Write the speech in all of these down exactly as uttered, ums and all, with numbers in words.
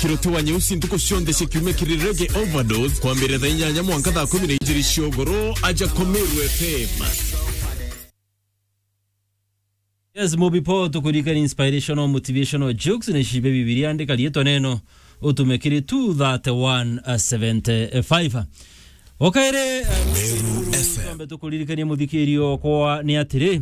Kiroti wa Nyeusi ntuku cionthe cia kiumia kiri Reggae Overdose, kwambirira thaa inyanya mwanka thaa kumi na ijiri cia ugoro, aja kwa Meru F M. Yes, Mobi Paul, tukuririkania inspirational, motivational jokes, ni cibe Bibilia, andika riitwa neno, utume kiri two thirty-one seventy-five. Okaire, eh, Meru F M. Twambe tukuririkanie, muthikirio okwa, ni atiri,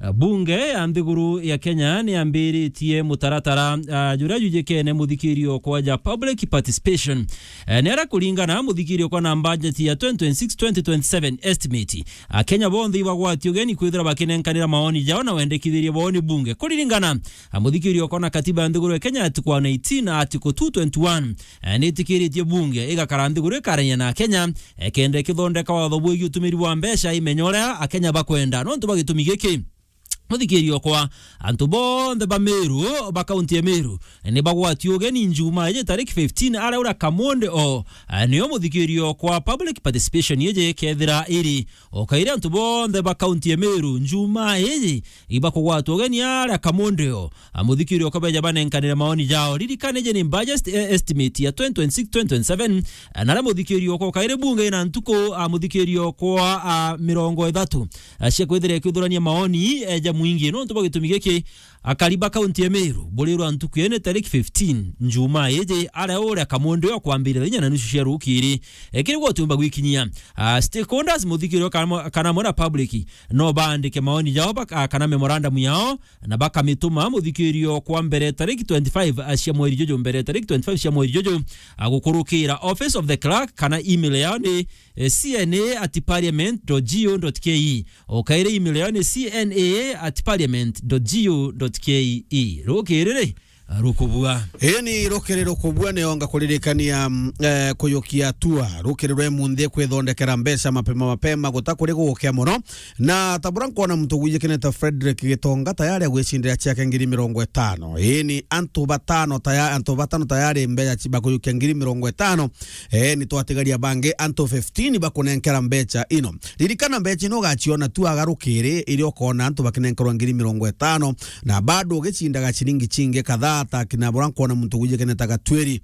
eh, bunge ya nthiguru ya Kenya ni yambiritie mutaratara, ah, juria jujikene, muthikirio okwa, ja public participation. Eh, ni aria kuringana, muthikirio okwa, na budget ya twenty twenty-six twenty twenty-seven estimate, Akenya bonthe ibagwati ugeni kwithira bakinenkanira maoni jao na wendekithirie booni bunge. Kuririkana, ah, muthikirio okwa, na katiba ya nthiguru ya Kenya, article one eighteen na article two twenty-one, eh, nitikiritie bunge igakara nthiguru ikarania na Akenya, eh, kenda ikithondeka watho bwigii utumiri bwa mbeca imenya uria Akenya bakwenda. Nontu bwa gitumi giki, muthikirio okwa, antu bonthe ba Meru, ba kaunti ya Meru, ni bagwati ugeni Njumaa iji tariki fifteen, aria uria Kamonde o, eh, nio muthikirio okwa, public participation iji ikethira iri. Okaire antu bonthe ba kaunti ya Meru, Njumaa iji ibakugwatwa ugeni aria Kamonde o. A, muthikirio okwa, beja banenkanire maoni jao. Ririkana, iji ni budget, eh, estimate ya twenty twenty-six twenty twenty-seven. A, naria muthikirio okwa, okaire bunge ina ntuku, a, muthikirio okwa, a, mirongo ithatu, a, cia kwithira ikiuthurania maoni, e, ja mwingi. Nontu bwa gitumi giki, akari ba kaunti ya Meru, burirwa ntuku ene tariki fifteen, Njumaa iji, aria uria Kamonde o, kwambirira thaa inya na nusu cia rukiri. E, kiri gutiumba gwikinyia, a, stakeholders, muthikirio kana mo-, kana mwana public, no baandike maoni jao bak-, a, kana memorandum yao, na bakamituma muthikirio okwa mbere tariki twenty-five cia mweri juju, mbere tariki twenty-five cia mweri juju, a, gukurukira office of the clerk, kana email yao ni, eh, C N A at parliament dot G O dot K E. Okaire email yao ni C N A at parliament dot G O dot K E. Rukiri ri, a, rukubua. Ii ni rukiri rukubua, ni onga kuririkania, mm, eh, kuyukia hatua. Rukiri rwe munthi kwithondekera mbeca mapema mapema guta kuri gukia muno. Na ta buria nkwona muntu gwijikene ta Frederick Gitonga tayari agwicindira ciake ngiri mirongo itano. Ii ni antu batano taya-, antu batano tayari mbeca ci-, bakuyukia ngiri mirongo itano. Ii ni twatigaria bangi antu fifteen bakunenkera mbeca ino. Ririkana mbeca ino ugaciona tu agarukiri iria ukona antu bakinenkerwa ngiri mirongo itano, na bado ugicindaga ciringi cingi kadhaa ta kina buria nkwona muntu gwijikene ta Gatwiri.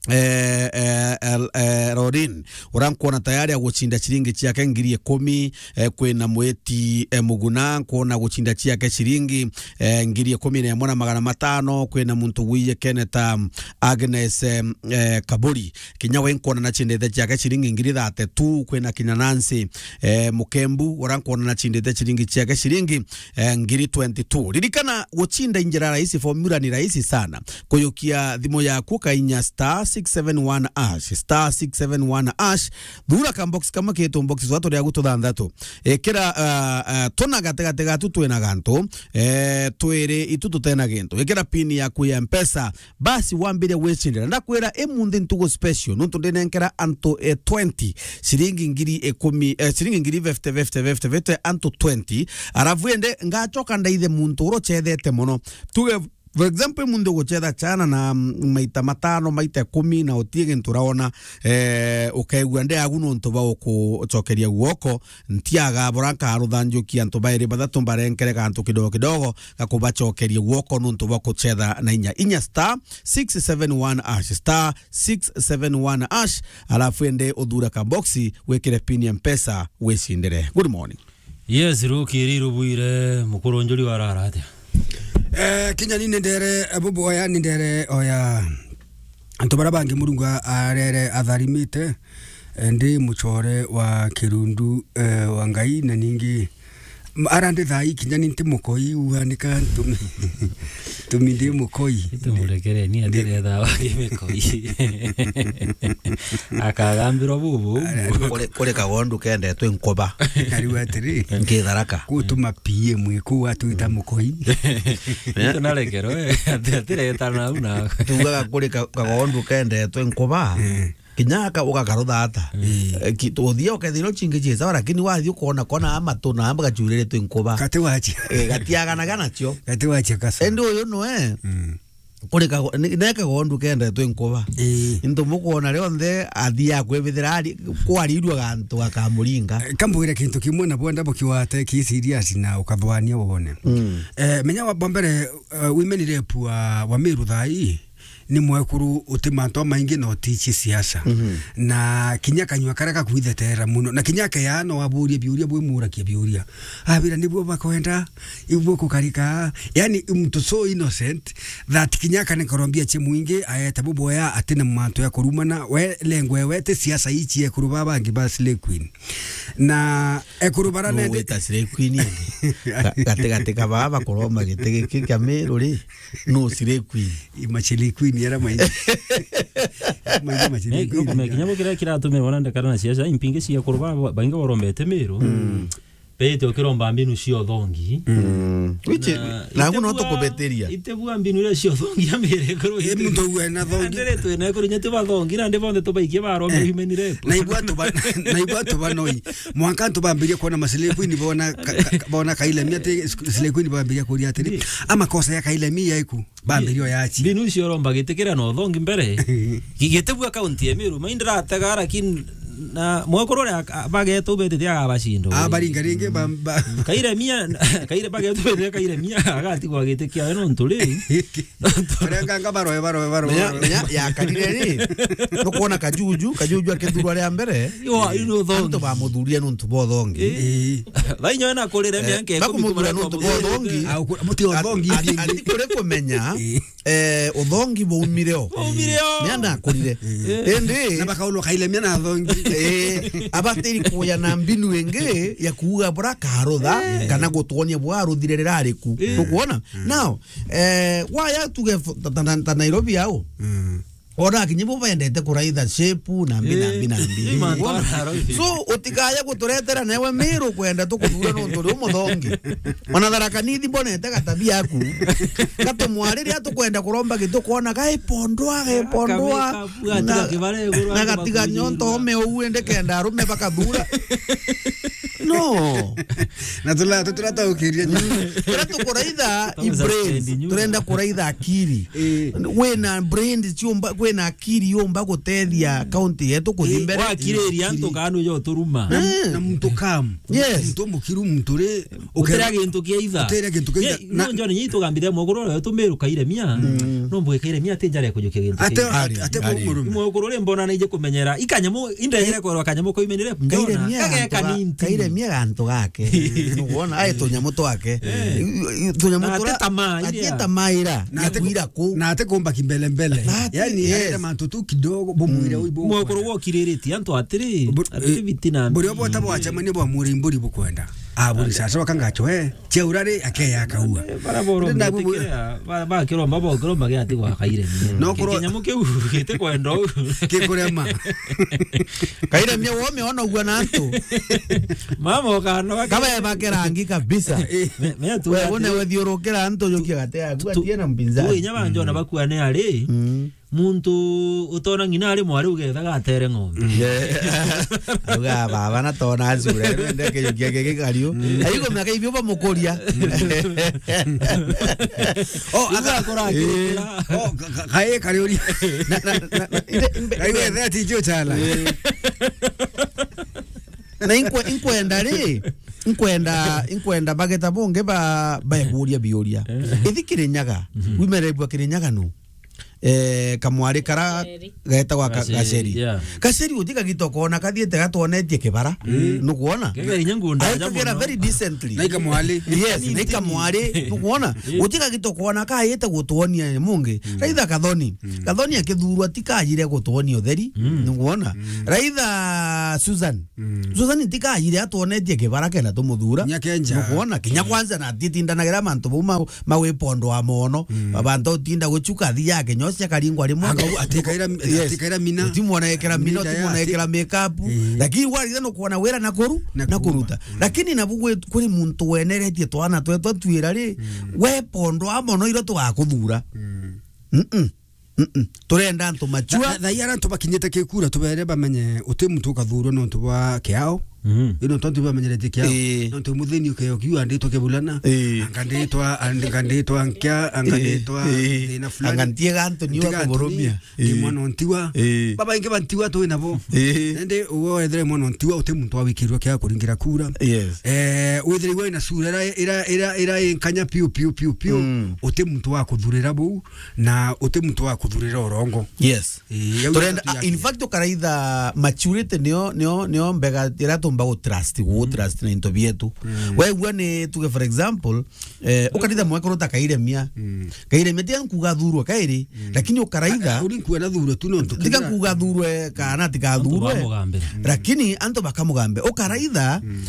Eh, eh, el-, eh, Rorin, uria nkwona tayari agucinda ciringi ciake ngiri ikumi, eh, kwina Mwiti, eh, Muguna, nkwona gucinda ciake ciringi, eh, ngiri ikumi na imwe na magana matano, kwina muntu gwijikene ta, mm, Agnes, eh, eh, Kaburi, kinya we nkwona nacindite ciake ciringi ngiri thirty-two, kwina kinya Nancy, eh, Mukembu, uria nkwona nacindite ciringi ciake ciringi, eh, ngiri twenty-two. Ririkana, gucinda i njira rahisi, formula ni rahisi sana. Kuyukia thimu yaku, ukainya star six seven one hash, star six seven one hash, thura ka box kamwe kitu box twa turia gutu thanthatu. Ikira, ah, ah, tuna gatigati gatu twina gantu, eh, twiri itu tutena gintu. Ikira pin yaku ya Mpesa, basi wambire gwicindira. Ndakwira, imunthi ntugu special, nontu ndinenkera antu, eh, twenty, ciringi ngiri ikumi, eh, ciringi ngiri fifty, fifty, fifty, fifty, antu twenty. Arafu ende ngacoka ndaithe muntu uria ucethete muno. Tuge, for example, muntu ugucetha chana na, mm, maita matano, maita ikumi, na utie gintu uraona, eh, ukaigua ndi agu nontu ba ukucokeria guoko, ntiaga bura nkaruthanjukia antu bairi bathatu mbarenkere gantu kidogo kidogo, gakubacokeria guoko nontu bwa kucetha na inya. Inya star six seven one hash, star six seven one hash, alafu ende uthure ka boxi, wikire pin ya Mpesa, wicindire. Good morning. Yes, rukiri rubwire, mukuru njuri warara atia? Eh, kinya ni ndere, eh, bubu oya ni ndere oya. Antu bara bangi Murungu a-, arere atharimite, eh, ndi mucore wa kirundu, eh, wa Ngai, na ningi, m-, ara ndi thaa ii kinya ni nti mukoi, uanika ntumi, ntumi ndi mukoi. Tumurekere, ni atere thaa wa kimikoi. Akagambirwa bubu. Kuri, kuri kagondu kendetwe nkuba. Kariu atiri. Nkitharaka. Gutuma P M kuu atwita mukoi. Itu narekero, eh. Ati-, atiretana au na. Tugaga kuri ka-, kagondu kendetwe nkuba. Eh. Kinya aka ugakarutha ata. Eh. Eh, ki-, uthia ukethira cingi cie sawa, lakini wathi ukona kona amatu na amba gacuririte nkuba. Gati wacia. Eh, gatiaganaga nacio. Gati wacia kasa. Endi uyu nwe. Mm. Kuri kago-, ni-, ne kagondu kendetwe nkuba. Ii. Into mukwona rionthe athia kwibithira ari-, kwarirua gantu gakamuringa. Eh, kambwire kintu kimwe na bwenda bukiwate ki serious na ukathwania wone. Mm. Eh, menya wa, wa mbere, eh, women rep wa, wa Meru thaa ii, ni mwekuru uti mantu amaingi na utiici siasa. Mhm. Na kinya kanyua karia gakwithetera muno. Na kinya akeya no aburie biuria bwimurakia biuria. Abira nibuo bakwenda, ibuo kukarika. Yani, mtu so innocent that kinya akane korombia cie mwingi, aete buboya ati na mantu ya kurumana, we lengwe we ti siasa ici ekuru baba bangi ba slay queen. Na ekuru bara no nende wita slay queen indi. Ga-, gati gati ka baba kuroma giti giki kia Meru ri, no slay queen. Ima slay queen era mai. Mai ma slay queen. Kinya bo kira kiratumirwa na ndakara na siasa, impingi cia ekuru baba baingi borombete Meru. Mm. Bete ukiromba mbinu cia uthongi. Mm. Which, na, na ite no bua, tukubetiria. Ite bua mbinu iria cia uthongi ya Meru ekuru. E, muntu uwe na thongi. Ndere twe na ekuru nyete bathongi, na ndi bonthe tubaikie barombe, eh, human rape. Na ibwa tuba-, na ibwa tubanoi. Mwanka tubambirie kuona ma slay queen bona ka-, ka-, bona Kailemia ati slay queen bambirie kuria atiri. Ndi. Amakosa ya Kailemia iku. Bambirio ya achi. Mbinu icio uromba gitikiria na uthongi mbere. Gi-, gitibua kaunti ya Meru, mai ndiratega, lakini na mwekuru uria ak-, a-, bagetu betete agabacinda. Ah, baringa ringi ba, ba. Kairemia, kaire-, bagetu betete Kairemia, agatigwa gitikia we nontu ri. Arenganga baroe, baroe, baroe, menya, baroe. Menya, ya karire ri. Nukwona Kajuju, Kajuju akithurwa ria mbere. Yo, ino uthongi. Antu bamuthurire nontu bwa uthongi. Eh. Eh. Thainyo ena kurire, eh, mianka ikumi bakumuthura nontu bwa uthongi. Ah, uku-, muti uthongi. Ati, ati, ati kuri kumenya. Eh. Eh, uthongi bwaumire o. Bwaumire o. Ni anda akurire. Eh. Indi na bakaulwa Kailemia na athongi. Eh, abatiri kuya na mbinu ingi ya kuuga bura karutha, eh, kana gutwonia bwa aruthire rira ariku. Eh. Nukwona? Mm. Now, eh, waya tuge f-, ta, ta, ta Nairobi au. Mm. Ona akinyi bo bendete kuraitha shape na mbi na mbi na mbi. Eh, ni mantu ara roithi. So, utikaya guturetera newe Meru kwenda tukuthura nontu ri umuthongi. Ona Tharaka Nithi mbonete gatabia aku. Gatumwariria tukwenda kuromba gitu kona gaipondwa, gaipondwa. Kameka, bua, na, tiga kibare iguru, na antu gatiga bakunyirwa. Nyonto ome ou ende kenda arume bakathura. No. Na tula, tuturataukiria. Mm. Turia tukuraitha i brains. Turenda kuraitha akiri. Eh. Wina brains ciumba, kwina akiri yumba gutethia county yetu kuthi mbere. Wakiriria antu kana ujo turuma. Na, eh, na muntu kam. Yes. Muntu mukiru, muntu ri, uteria gintu kia itha. Uteria gintu kia itha. Na njo ni tugambithia muguru ro tumiru Kairemia. Mm. No mbwe Kairemia ati njare kujukia gintu. Ate, kia itha. Ate, ate ari, ari. Muguru ri mbona nije kumenyera. Ikanyamu, indegere korwa kanyamu ko imenire. Kairemia. Kage kanini. Kairemia gantu gake. Nukwona, ai tunyamu twake. Eh. I, i, tunyamu na tura, ate tamaa, ati iria. Tamaa ira, na ya ate ku-, kuira ku. Na ate kumba kimbele mbele. Na ati, yani, yes. Arenda mantu tu kidogo, bumwire, mm, uyu bumwire. Mwekuru wokiriritie antu atiri, bu-, ati eh, biti na buri obo tabo wachemania bwa mwire mburi bukwenda. Ah, buri sasa wakanga chwe, cheurare, akeya akaua. Eh, bara boro na bu-, mbetikira, ba-, bakiromba, bokiromba giatigwa Kairemia. No kuro- kinyamu kiu gitikwenda u. Kikurema. Kairemia wome ona ugwa na antu. Mama ukano wake. Kaba ebake rangi kabisa. Me, me tu. We, atiri, une wethiurukira antu jukia gate yaku, tu-, atie na mpinzani. Tu inya banjona bakua ne ari. Mm. Muntu utona ng'ina ari mwari ugetha gatere ng'ombe. Yeah. Auga baba na tona azura, rende kijukia giki kariu. Mm. Aiko miaka ibio bamukuria. Oh, ibu akora, eh, akirikira. Oh, ka-, ka-, kae kari uri. Na, na, na, na, inde, imbe-, kae imbe-, wethe ati ijo chala. Eh. Na inkwe-, inkwenda ri, inkwenda, inkwenda bageta bonge ba, baeburia biuria. Eh. Ithi Kirinyaga, mhm, wimerebua Kirinyaga nu? Eh, kamwari kara Gaceri. Getagwa ka-, Gaceri, Gaceri. Yeah. Gaceri uti kagita ukona kathiite gatwonetie kibara. Mm. Nukwona? Kega inya ngunda aja muno. Very decently. Na ikamwari. Yes, na ikamwari. Nukwona? Eh. Uti kagita ukona kaite gutwonia mungi. Mm. Raitha Kathoni. Mm. Kathoni akithurwa ti kajire gutwonia utheri. Mm. Nukwona? Mm. Raitha Susan. Mm. Susan ti kajire atwonetie kibara kenda tumuthura. Nya Kenja. Nukwona? Kinya, mm, kwanza na atitindanagira mantu bau ma-, mawipondwa mono. Mm. Abantu utinda guchuka thi yake nyosia karingwa rimwe. Anga u-, atikaira, yes, atikaira mina. Utimwona ekera mina, mina utimwona yati. Ekera makeup. Mm. Lakini warire no kuona wira na kuru, na na kuruta. Mm. Lakini nabu gwe-, kuri muntu weneretie twana twetwa twira ri, mm, wepondwa mono iro tugakuthura. Mm. Mm-mm. Mm-mm. Turenda antu machua. Tha-, tha-, thaia antu bakinyite kikura tubere bamenye uti muntu ukathurwa nontu bwa kiao. Mhm. Ino tontu bamenyeretie kiao. Ii. Nontu muthini ukeyo kiu anditwa kebulana. Ii. Anganditwa, and-, anganditwa nkia, anganditwa Ii. thina fulani. Angantie gantu niwa Ntiga kuburumia. Ii. Mwana ontiwa. Ii. Baba ingi bantiwa tu nabo. Ii. Nende uwe wethire mwana ontiwa uti muntu wa wikirwa kia kuringira kura. Yes. Eh, withire iwe na sura ira, ira, ira, ira inkanya piu, piu, piu, piu. Mm. Uti muntu wa kuthurira buu, na uti muntu wa kuthurira urongo. Yes. Ii, yau Turenda, ni in fact, ukaraitha maturity nio, nio, nio mbega ira tumba gu trust, gu trust na into bietu. Mm. Wegua ni tuge, for example, eh, ukaraitha mwekuru ta Kairemia. Mm. Kairemia ti ankuga thurwe kairi, Mm. lakini ukaraitha Uri nkuga na thurwe tu nontu tiga kethira nkuga thurwe kana tiga Antu thurwe. Bamugambira. Lakini antu bakamugambe. Ukaraitha, Mm.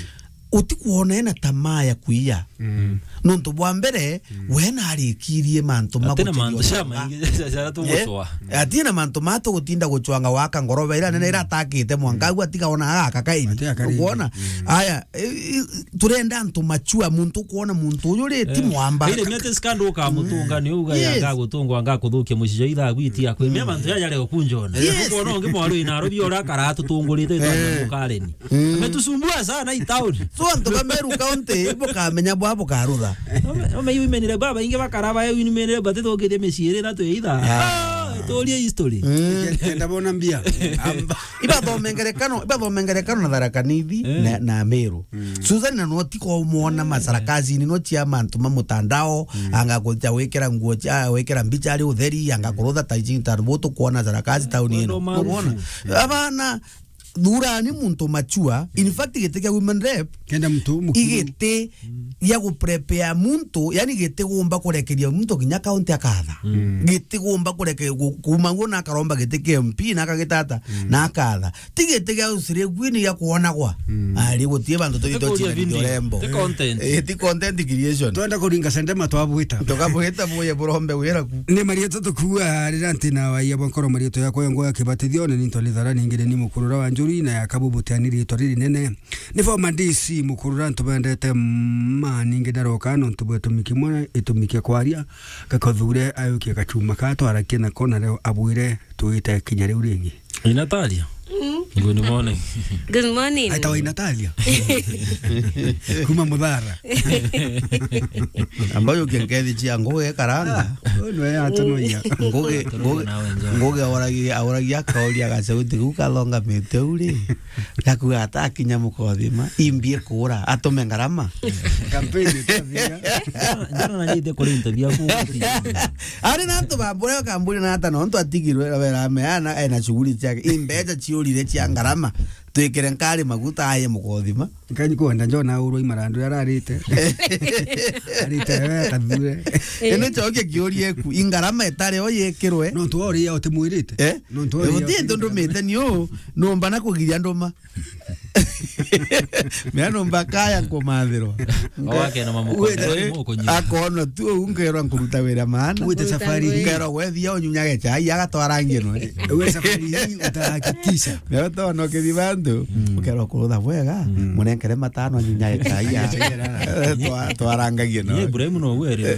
utikwona ena tamaa ya kuiya. Mm. Nontu bwa mbere, Mm. we narikirie mantu ma Atina mantu gucithia cia ucwanga. Maingi cia, cia, cia Eh? Tuguswa. Atina mantu ma tugutinda gucwanga waka ngoroba ira nene ira atakite mwanka, Mm. agu atiga ona agaka kairi. Ati akari. Ukwona? Mm. Aya, i, i, turenda antu machua, muntu ukwona muntu uyu ri ti Eh. mwamba. Ile mete scandal ukamutunga Mm. ni uga Yes. yanga gutungwa anga kuthukia mucijo itha gwiti akwe. Mia Mm. mantu ya yale okunjona. Yes. Ukwona ungi mwaru ina arobi ora karatu tungurite Eh. twa mukareni. Mm. Ametusumbua sana hii town. So, antu ba Meru County, bukamenya bwa bukarutha. Ome, ome imenire baba ingi bakaraba, imenire bate tokete miciiri na twe itha. Ah. Ah, turie history. Mm. Kenda bona mbia. Amba. Ibathome ngerekano, ibathome ngerekano na Tharaka Nithi Eh. na, na Meru. Mm. Susan na no tiko mwona masarakazini no cia mantu ma mutandao, Mm. anga kuja wikira nguo cia, wikira mbicha ari utheri, anga kurutha ta iji ta butu kuona sarakazi tauni ino. Wendo man. Ukwona? Abana, thurani muntu machua. In fact, giti kia women rep, Kenda muntu mukiru. Igiti gia gu prepare muntu, yani giti gumba kurekeria muntu kinya kaunti akatha. Mm. Giti gumba kureke, gu-, kuma guo na akaromba giti kia M P na akagitata Mm. na akatha. Ti giti gia ucire gwini gia kuonagwa. Mm. Ari gutie bantu Ti tuitwa kuria chira video. Urembo. Ti content. Eh, ti content creation. Twenda kuringa sendema twabwita. Tukabwita buye burombe wira ku. Ni marietwa tukua rira ntina wa iya bwa nkoro marietwa ya kwa ngo ya kibatithio, ni nintwa ni thara ningi ni mukurura wa njuri na ya kabu butiani rietwa riri nene. Ni former D C mukurura ntubendete ma ningi ndaroka nontu bwa itumi kimwe itumi kia kwaria gakothure ayukia gachuma ka twarakie nako na reo abwire tuite kinya riu ringi. Inataria. Mm. Good morning. Good morning. Aitawa Inataria. Kuma Muthara. Ambayo ukiengethi cia ngugi karanga. Ah, uyu niwe yatonoia. Ngugi, ngugi, Nawe njoo. Ngugi auragi, auragi akauria gacauti kau kathongamite u ri. Gakuga atakinya mukothima. Imbie kura. Atume ngarama. Kampeni itathira. Njana, njana na nyite kuri interview aku. Ari na antu bambure bakamburi na ata nontu atigirwe wera ameana ena shughuli ciake. Imbeca ciurire cia ngarama. Twikire nkari maguta aye mukothima. Nkanyi kwenda njona aurwa imarandu ararite. Arite we kathure. Ene choke kiurie ku ingarama itare o yekirwe. Nontu wa uria utimwirite. Eh? Nontu wa uria uti ndumite ni u, numba na kugiria nduma. Mea numba kaya nkumathirwa. Owake na mamuko. Wenda, eh, muko nyuma. Akona tu u nkerwa nkuruta wira maana. Wite safari hii. Nkerwa gwethia unyunyage chai agatwara ngino. We safari hii utahakikisha. Mea utona ukithi bantu, mm, ukerwa kurutha bwega, mm, munenkere matano anyunyage chai ya. Twa-, twarangagie no. Ye Ibrahim no were.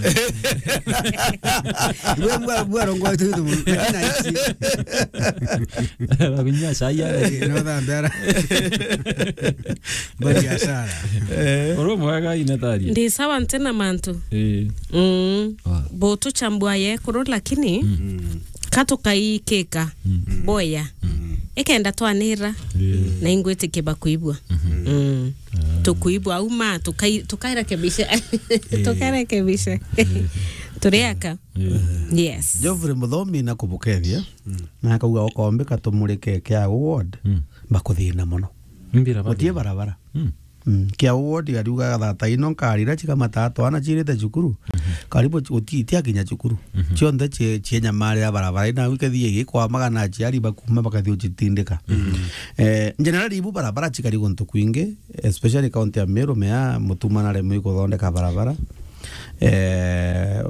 Bwa, bwa, bwa rongo tu tu. Bakunywa chai ya. Eh, no thambara. Bari asara. Eh. Oro mwega Inataria. Ndi sawa ntena mantu. Eh. Mm. Ah. Botu chambua ye kuru lakini, mm, katukaikika, mm, boya. Mm. Ikenda twanira, eh, na ingwitikia bakuibua. Mhm. Mm. Ah. Tukuibua uma, tukai-, tukarekebisha. Eh. Tukarekebisha. Eh. Turiaka. Eh. Yes. Geoffrey Muthomi na kubukethia, mm, na akauga okombe katumurike kia ward, mm, bakuthina muno. Mbira. Gutie barabara. Mm. Mm, kia ward ariuga thata ino nkarira chikamata twana chirite cukuru. Mhm. Karibu chi-, guti-, itiakinya cukuru. Mhm. Chionthe chie-, chienyamarira barabara. Ina wikethia igikwamaga na aciari bakuma bakathi uchitindika. Mhm. Eh, generally ibu barabara chikari guntu kwingi, especially county ya Meru, mea mutuma na remu ikuthondeka barabara. Eh,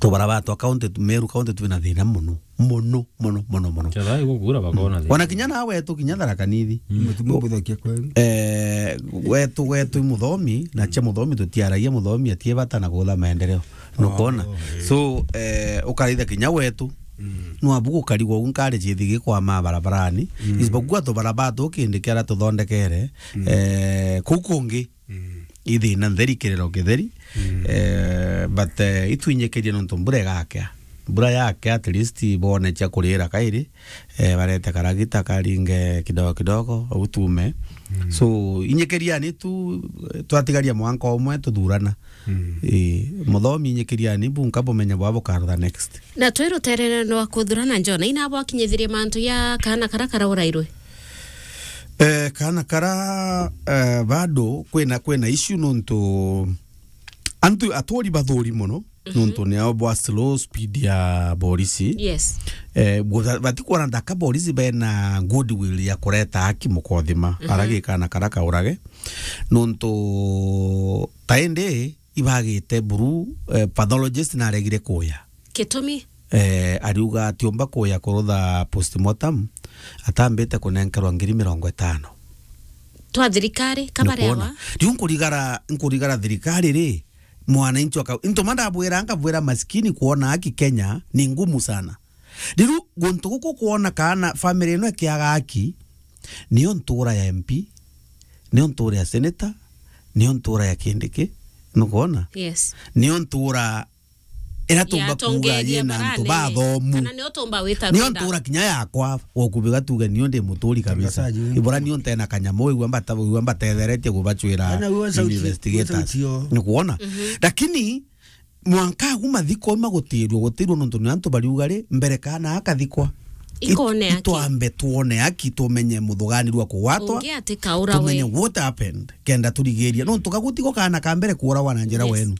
tubarabara twa county, Meru county twina thina muno. Muno, muno, muno, muno. Kethira igukura bakona thina. Ona kinya nawe wetu, kinya Tharaka Nithi. Mm. Mutumo buthokia kwenu. Eh, wetu, wetu i Muthomi, na chia Muthomi tutiaragia Muthomi atie bata na kutha maendeleo. Nukona? Oh, eh. So, eh, ukaraitha kinya wetu, Mm. Nwabu gukarigwa u nkari cithi gikwama barabarani. Mm. Isipokuwa tubarabara tu kindi kiara tuthondekere, mm, eh, kuu kungi. Mm. Ithina ntheri, kiriro kitheri. Mm. Eh, but, eh, itwinyikirie nontu mbura igakea. Mbura yakea, at least bone cia kurira kairi. Eh, barete karagita karinge kidogo kidogo, utume. Mm. So, inyikiriani tu, eh, twatigaria mwanka umwe tuthurana. Mm. Eh, muthomi inyikiriani bunka bumenye bwa bukarutha next. Na twi ruterere rwa kuthurana, Jona, ina bwakinyithirie mantu ya kaana kara karaurairwe? Eh, kaana kara, eh, bado kwina, kwina issue nontu antu aturi bathuri mono, mhm, nontu nio bwa slow speed ya borisi. Yes. Eh, bu-, batikwona ndaka borisi bena goodwill ya kureta haki mukothima, mhm, ara gi kaana kara kaurage. Nontu taindi ibagite buru, eh, pathologist naregire kuya. Gitumi? Eh, ariuga atiumba kuya kurutha postmortem, atambite kunenkerwa ngiri mirongo itano. Twa thirikari, kabarewa? Nukwona? Riu nkurigara, nkurigara thirikari ri, mwananchi wa kau-, into ma ndabwira, nkabwira maskini kwona haki Kenya ni ngumu sana. Riu guntu guku kwona kana family ino ikiaga haki, nio ntura ya M P, nio ntura ya senator, nio ntura ya Kindiki, nukwona? Yes. Nio ntura ira tumba kuuga yina antu bathomu. Kana nio tumba wita nio ntura kinya yakwa, wokubiga tuge nio ndi muturi kabisa. Ibura nio ntena kanyamu, wigua mbata-, wigua mbatetheretie kubacwira investigators. Nukwona? Mhm. Lakini mwanka agu mathiko magutirwo, gutirwo nontu ni antu bariuga ri, mbere kana akathikwa. Ikone haki. Itwambe twone haki, tumenye muthuganirwa kugwatwa, ungi ati kaurawe, tumenye what happened, kenda turigiria. Nontu kagutigo kana ka mbere kuurawa na njira wenu.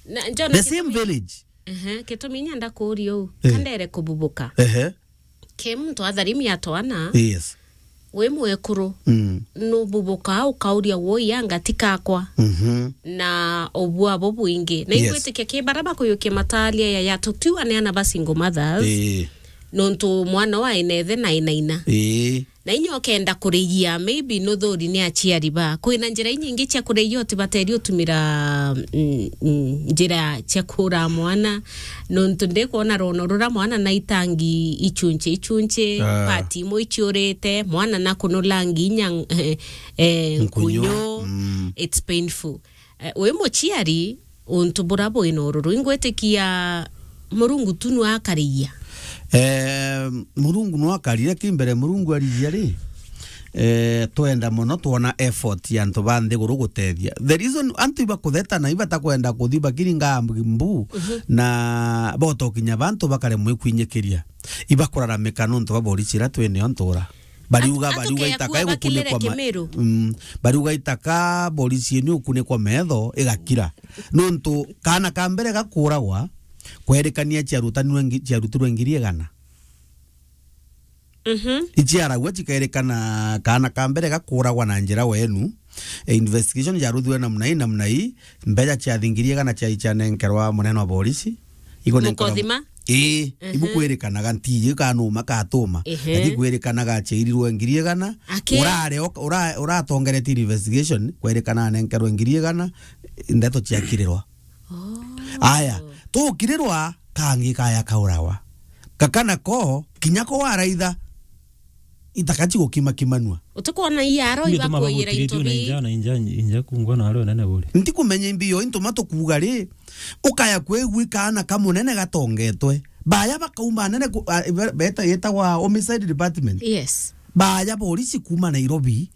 Na, Jona, the same village. Ehe, gitumi nyenda kuuria uu, eh, kandere kububuka. Ehe. Ke muntu atharimi atwana, yes, wi mwekuru, mm, nububukaa ukauria woi anga ti kakwa? Mhm. Na ubua bo bwingi. Na, yes, ingwitikia ki bara bakuyukia matalia ya, ya tutiwa ni ana ba single mothers. Eh. Nontu mwana wa inethe na inaina. Eh. Na inya ukenda kurigia, maybe nuthuri ni aciari ba. Kwina njira inyingi cia kurigia utibateri utumira, mm, mm, njira cia kuura mwana. Nontu ndikwona rono rura mwana na itangi ichunche ichunche, ah, pati imwe ichiurite, mwana na kunulangi inya, eh, eh, nkunyu. Nkunyu. Mm. It's painful. Eh, wi muciari, untu bura bwina ururu, ingwitikia Murungu tu nwa akarigia. Eh, Murungu nwa akarire ki mbere, Murungu arigia ri, eh, twenda mono twona effort ya antu ba nthiguru gutethia. The reason antu ibakutheta na ibatakwenda kuthi bakiringa mbu, mhm, na botokinya bantu bakaremwa ikwinyikiria. Ibakuraramika nontu ba borisi ira twinio ntura. Bariuga, bariuga itaka igukunikwa ma-, mm, bariuga itaka borisi ino igukunikwa metho igakira. Nontu kaana ka mbere gakuragwa, kwerikania ciarutanirwe ngi-, ciarutirwe ngiri igana. Mhm. Iciaragua cikerikana kaana ka mbere gakuragwa na njira wenu. E, investigation yaruthirwe namna ii, namna ii, mbeca ciathi ngiri igana cia, cianenkerwa munene wa borisi. Ikunenkerwa mukothima? Ii, mhm, ibukwirikanaga ntiji kanuma katuma. Ehe. Lakini kwirikanaga aciarirwe ngiri igana. Aki? Urare ok-, ura-, uratongeretie investigation, kwerikana anenkerwe ngiri igana, ndeto ciakirirwa. Oh. Aya, tukirirwa kangi kaya kaurawa. Kakana ko, kinya ko waraitha, itaka cigukimakimanua. Utikwona iaro ibakwira into bi. Inja, na inja, inja kungwa na aro nene buri. Ntikumenya imbi yo into matukuga ri, ukaya kwigua kaana kamunene gatongetwe. Baya bakauma nene ku-, a, be-, beta, yetagwa homicide department. Yes. Baya borisi kuma Nairobi.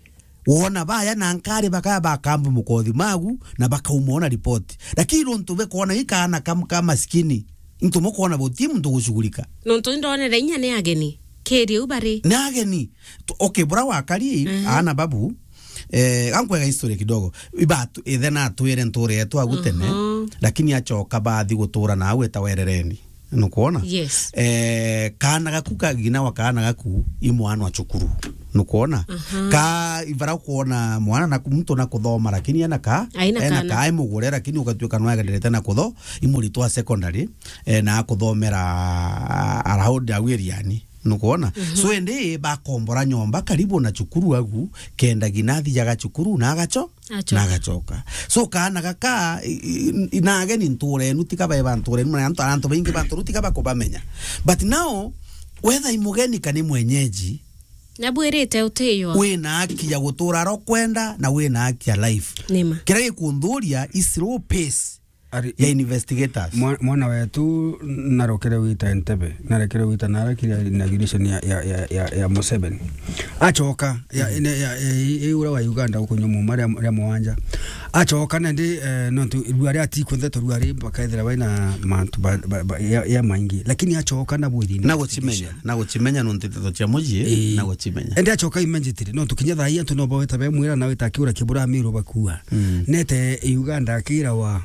Wona baya na nkari bakaya bakambu mukothi magu na bakauma ona report. Lakini nontu bekona ikaana kam-, ka maskini, into mukona buti muntu gushugulika. Nontu ndonere inya ni ageni. Kiri u bari. Ni ageni. Tu-, okay, bura wakari, mhm, ana babu, eh, gankwega history kidogo. Ibatu, ithe na atwire nture yetu agu tene, mhm, lakini acoka bathi gutura na au eta werereni. Nukwona? Yes. Eh, kaana gaku ka, ngina wa kaana gaku, i mwana wa cukuru. Nukwona? Aha. Ka, ibara kwona mwana na ku-, muntu na kuthoma, lakini ena ka, aina ena kaana. Ka, ai mugure, lakini ugatuika no agenderete na kutho-, i muritwa wa secondary, eh, na akuthomera around au iriani. Nukwona? Mhm. So, indi bakombora nyomba karibu na cukuru agu, kenda ginathi jaga cukuru na agacho-, Achoka. na agachoka. So, kaana gaka, i-, i-, i-, na ageni nturenu, tiga bae ba nturenu, na antu, antu baingi ba nturenu, tiga bakubamenya. But now, whether i mugeni kana i mwenyeji, Nabwirite utiywa. Wina haki ya gutura ro kwenda, na wina haki ya life. Nima. Kiria gikundhuria i slow pace Ari-, ya investigators. Mwa-, mwana wetu narokere wita Entebbe, narekere wita na arakire inauguration ya, ya, ya, ya, ya Museveni. Achoka, ya, Mhm. ine, ya, ya, i-, i-, ura wa Uganda guku nyumu, maria, ria mwanja. Achoka na ndi, eh, nontu rua ria ati kunthe to rua ri bakethira baina mantu ba, ba, ba, ya, ya maingi. Lakini achoka na bwiri Na guchimenya, na guchimenya nontu nteto cia muji, Ii. na guchimenya. Ende achoka immediately, nontu kinya thaa ii antu no baweta be mwira na weta kiura kibura miru bakua. Mm. Nete Uganda akira wa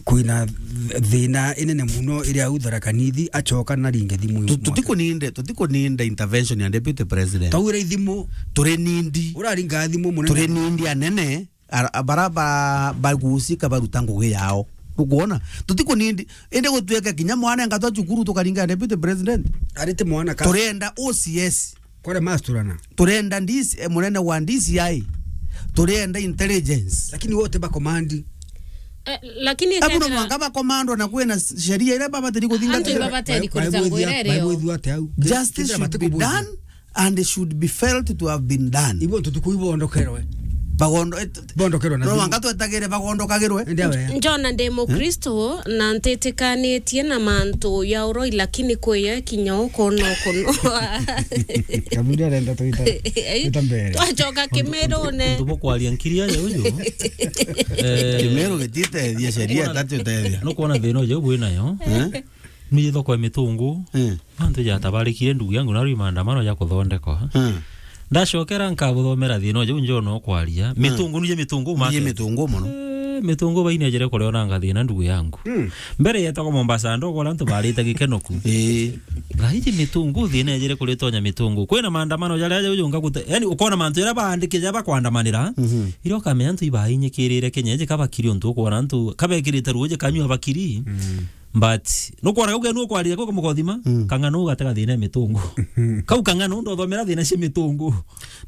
kwina th-, thina inene muno iria au Tharaka Nithi, achoka na ringe thimu. Tu-, tutikuninde, tutikuninde intervention ya deputy president. Tawira ithimu. Turi nindi. Uraringa thimu munene. Turi nindi anene, ara-, bara ba-, bagusika baruta ngugi yao. Nukwona? Tutikunindi. Indi gutwika kinya mwana engatwa cukuru tukaringa deputy president. Arite mwana ka. Turenda O C S. Kore masturana. Turenda D C, eh, munene wa D C I. Turenda intelligence. Lakini wote ba command. Eh, lakini Abu no kethira mwanka ba command na kwina sheria iria babatiri kuthingatira. Antu ibabateri kurita ngwira irio. Baibwithua ate au. Justice should be done and should be felt to have been done. Ibo ntutuku ibondokerwe. Bagondo-, eh, t-, Bondokerwe na no thimu. Mwanka twetagire bagondokagirwe. Ende awe. Njona ndi Mukristo na ntitikanitie na mantu ya uroi, lakini kwiyo kinya ukono kuno. Kaburi arenda tuita, tuita mbere. Twachoka kimerune. Ntu bukwaria nkiri aja uju. Eh, Kimeru gititethia, sheria tatu tethia. Nukwona thina uju bwinayo. Eh? Ni thoko ya mitungu. Eh. Antu jatabarikire ndugu yangu na rwi maandamano ja kuthondekwa. Hmm. Ndacokera nkabuthomera thina uju njona ukwaria. Hmm. Mitungu nije mitungu market. Nije mitungu muno. Eh, mitungu bainejere kuria ona ngathina ndugu yangu. Hmm. Mbere yetagwa Mombasa ndo kora antu barite gikenoku. Eh. Gaiji mitungu thina ejere kuria tonya mitungu. Kwina maandamano jaria aja uju ngaguta. Yani ukona mantu jaria baandike ja bakwandamanira. Mhm. Irio kamenya antu ibainyikirire Kenya eje kabakiri untu ukona antu kabekirite ruuje kanyua bakiri. Hmm. But nukwona gau genu ukwarire gau kamukothima, Mm. kang'ana ugatega thina ya mitungu. Kau kang'ana undu uthomera thina cia mitungu.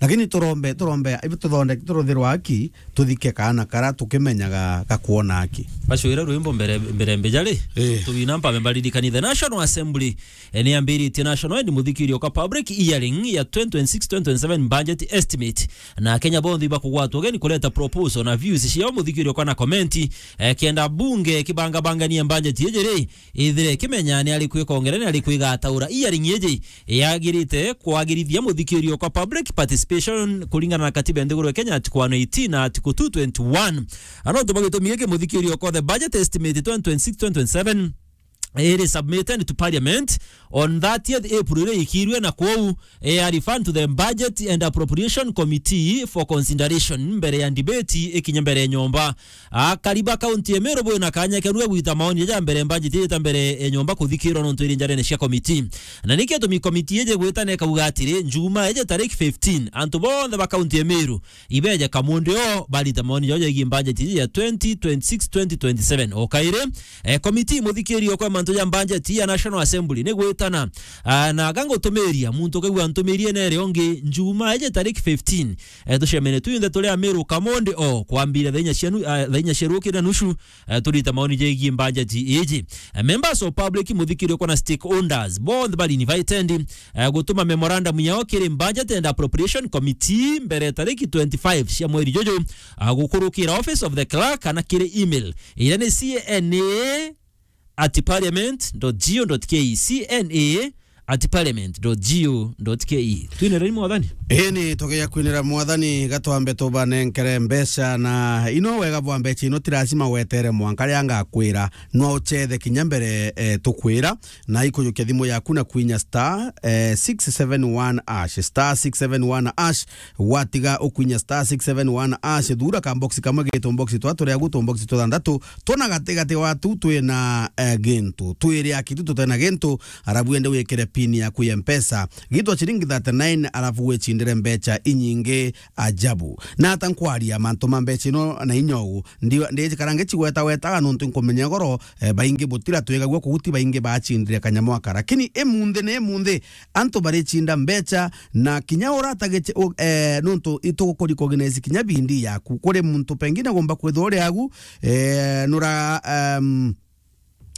Lakini turombe, turombe, ibu tuthonde, turuthirwa haki, tuthike kaana kara tukimenyaga gakwona haki. Bacwira rwimbo mbere, mbere mbijari. Eh. Tuwina mpambe mbaririkani the National Assembly, eh, ni ambiritie National End muthikirio kwa public hearing ya twenty twenty-six twenty twenty-seven budget estimate. Na Kenya bonthe ibakugwatwa ugeni kureta proposal na views ciao muthikirio kwa na komenti, eh, kenda bunge kibangabangania budget iji ri, ithire kimenya ni ari kwikongera ni ari kwigataura. Hearing iji yagirite kwagirithia muthikirio kwa public participation kuringana na katiba ya nthiguru ya Kenya article one eighteen na article two twenty-one. Ano tuba gitumi giki muthikirio kwa the budget estimate twenty twenty-six twenty twenty-seven iri submitted to parliament on thirtieth April iri ikirwe na kwou, eh, a refer to the budget and appropriation committee for consideration mbere ya debate ikinye mbere ya nyomba. Akari ba kaunti ya Meru bwina kanya kenu gwita maoni ja mbere budget ita mbere ya nyomba kuthikirwa nontu iri njarene cia committee. Na niki gitumi committee ije gwita na ikauga atiri, Njuma ije tariki fifteen, antu bonthe ba kaunti ya Meru ibeje kamundi o barita maoni jao jegie budget iji ya twenty twenty-six twenty twenty-seven. O kairi, eh, committee muthikirio kwa mantu ja budget ya National Assembly ni gwitana, ah, na gangutumiria muntu kaigua ntumirie nere ongi Njuma ije tariki fifteen. Eh, tucemene tuinthe turi Amiru kamundi o kwambira thaa inya cia nu-, ah, thaa inya cia rukiri na nusu, eh, turita maoni jegie budget iji. Eh, members of public muthikirio kwa na stakeholders bonthe bari invited, eh, gutuma memorandum yao kiri Budget and Appropriation Committee mbere tariki twenty-five cia mweri juju, ah, gukurukira Office of the Clerk kana kiri email iria ni C N A at parliament dot G O dot K E, C N A at parliament dot G O dot K E. Twine raini mwathani? Ii, ni tugia kwinira mwathani, gatwambe tubanenkere mbeca, na ino wega bwa mbeca ino ti lazima wetere mwanka ria ngakwira, no uchethe kinya mbere, eh, tukwira. Na ikujukia thimu yaku na kwinya star, eh, six seven one hash, star six seven one hash. Watiga ukwinya star six seven one hash, thura ka box kamwe gitu box twa turia gutu box tuthanthatu, tuna gati gati watu twina, eh, gintu. Twiri akitu tutena gintu, arabu ende wikire pin yaku ya Mpesa. Gitwa ciringi thirty-nine, alafu wicindire mbeca inyingi ajabu. Na ata nkwaria mantu ma mbeca ino na inya uu, ndi-, ndijikara ngicigwetagwetaga nontu nkumenya goro, eh, baingi butira twigagua kuguti baingi bacindire kanyamu aka. Lakini imunthi ni imunthi, antu baricinda mbeca na kinya uratagice, u-, eh, nontu itugukuri recognize kinya bindi yaku. Kuri muntu pengine gomba kwithwa uri agu, eh, nura, em,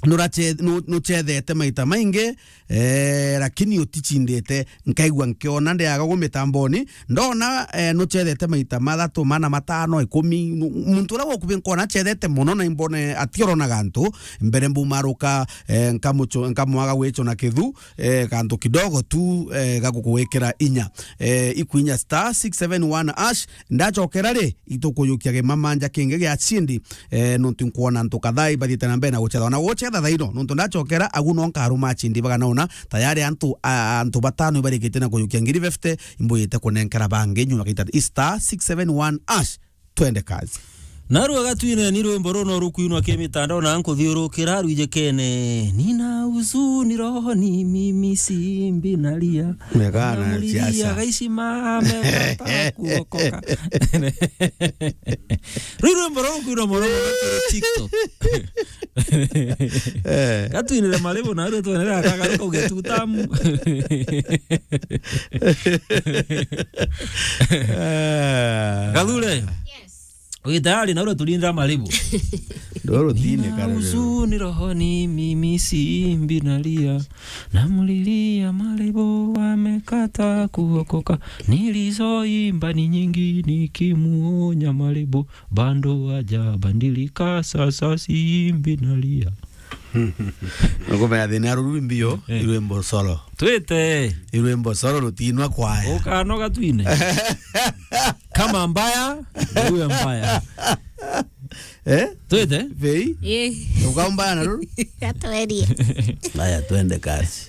nurache-, nu-, nuchethete maita maingi, eh, lakini uticindite. Nkaigua nkiona ndiaga gu mitamboni, ndona, eh, nuchethete maita mathatu, mana, matano, ikumi. Nu-, muntu uria wokubi nkona achethete mono na imbone atioronaga antu, mbere mbumaruka, eh, nkamucho-, nkamwaga gwichona kithu, eh, kantu kidogo tu, eh, ga gukugwikira inya. Eh, ikwinya star six seven one hash, ndachokera ri, itukuyukia gimamanja kingi gia chindi, eh, nontu nkwona antu kadhaa ibathiite na mbere na guchetha. Ona guchetha thaino, nontu ndachokera, agu no nkaruma chindi bagana una, tayari antu, a-, antu batano ibarikitie na kuyukia ngiri fifty, imbuyite kunenkera bangi nyuma gaita star six seven one hash. Twende kazi. Narua gatwine ni rwimbo runo rukwinwa ki mitandao na nkuthiurukira rwijikene. Nina huzuni rohoni, mimi si mbi nalia. Mega na Namulilia siasa. Gaishima amepata kuokoka. Rwi rwimbo runo rukwinwa mono mono kiri TikTok. Eh. Gatwinire maribu na rwi twenere akagaruka uge tutamu. Eh. Gathure. Yes. Wi tayari na uria turindira maribu? Ndoro tine. Nina karere. Huzuni rohoni, mimi si mbi nalia. Namlilia maribu, amekata kuokoka. Nilizoimba ni nyingi nikimuonya maribu. Bado hajabadilika, sasa si mbi nalia. Ngombe ya thina ruru mbio, eh, irwimbo solo. Twite. Irwimbo solo rutinwa kwaya. Ukanoga twine. Kama mbaya, uwe mbaya. Eh? Twite? Vei? Eh. Ukambaya na ruru? Gatwerie. Haya, twende kazi.